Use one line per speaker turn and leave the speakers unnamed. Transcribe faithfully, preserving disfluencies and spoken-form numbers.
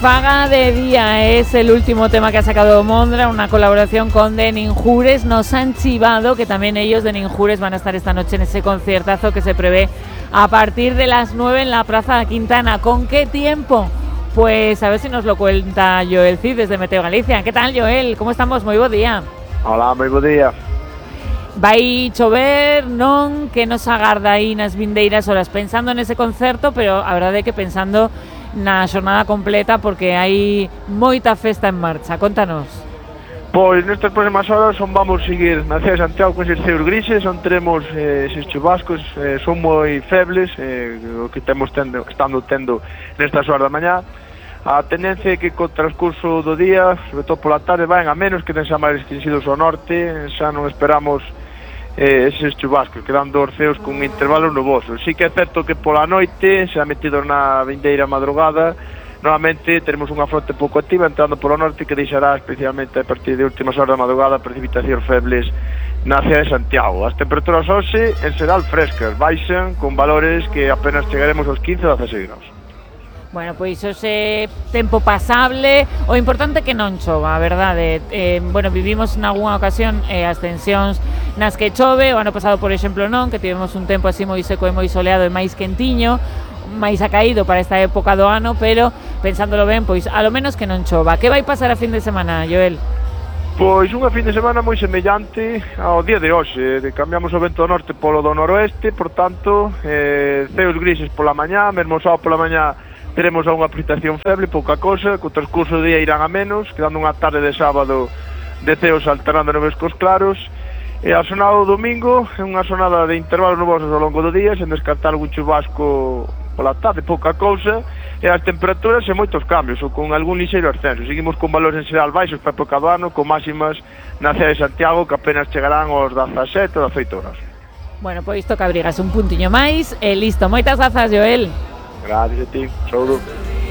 Faga de día es el último tema que ha sacado Mondra, una colaboración con The Ninjures. Nos han chivado que también ellos, The Ninjures, van a estar esta noche en ese conciertazo que se prevé a partir de las nueve en la Plaza Quintana. ¿Con qué tiempo? Pues a ver si nos lo cuenta Joel Cid desde Meteo Galicia. ¿Qué tal, Joel? ¿Cómo estamos? Moi bo día.
Hola, moi bo día.
Vai chover, non? Que nos agarda aí nas vindeiras horas pensando nese concerto, pero a verdade é que pensando na xornada completa porque hai moita festa en marcha. Contanos.
Pois nestas próximas horas son vamos seguir na cidade de Santiago con eses ceos grises, onde teremos eh, eses chubascos, eh, son moi febles, eh, o que temos tendo, estando tendo nestas horas da mañá. A tendencia é que co transcurso do día, sobre todo pola tarde, van a menos que ten xa máis extensidos ao norte, xa non esperamos eh, eses chubascos, quedando os ceos con intervalos nubosos. Sí que é certo que pola noite, xa metidos na vindeira madrugada, novamente teremos unha fronte pouco activa entrando polo norte que deixará especialmente a partir de últimas horas da madrugada precipitacións febles na cidade de Santiago. As temperaturas hoxe en xeral frescas, baixan con valores que apenas chegaremos aos quince a dezaseis graus.
Bueno, pois hoxe tempo pasable, o importante é que non chova, a verdade. Eh, bueno, vivimos nalgúna ocasión eh, as tensións nas que chove, o ano pasado, por exemplo, non, que tivemos un tempo así moi seco e moi soleado e máis quentiño, máis acaído para esta época do ano, pero pensándolo ben, pois a lo menos que non chova. Que vai pasar a fin de semana, Joel?
Pois unha fin de semana moi semellante ao día de hoxe. Cambiamos o vento do norte polo do noroeste, por tanto, eh, ceos grises pola mañá, mesmo sábado pola mañá teremos unha precipitación feble, pouca cosa, co transcurso do día irán a menos, quedando unha tarde de sábado de ceos alternando nubes cos claros, e a sonada do domingo é unha sonada de intervalos nubosos ao longo do día, sen descartar algún chubasco pola tarde, pouca cousa, e as temperaturas e moitos cambios, ou con algún lixeiro ascenso. Seguimos con valores en xeral baixos para a época do ano, con máximas na cidade de Santiago que apenas chegarán aos dezasete ou dezaoito horas.
Bueno, pois toca abrigas un puntiño máis e listo. Moitas grazas, Joel.
Gracias a ti, saúdo.